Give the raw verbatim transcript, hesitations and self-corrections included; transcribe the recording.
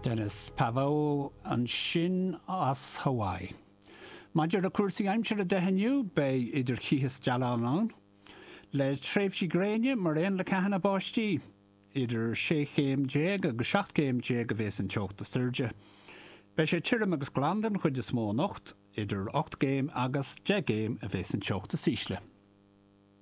Dennis Pavao ansin as Hawaii. Maidir le cúrsaí aimsire de inniu beidh idir chith is dealán ann, le tréimhsí gréine mar aon le ceathanna báistí, idir sé chéim déag agus seacht gcéim déag a bheas an teocht is airde. Beidh sé tirim agus glan den chuid is mó anocht, idir ocht gcéim agus deich gcéim a bheas an teocht is ísle.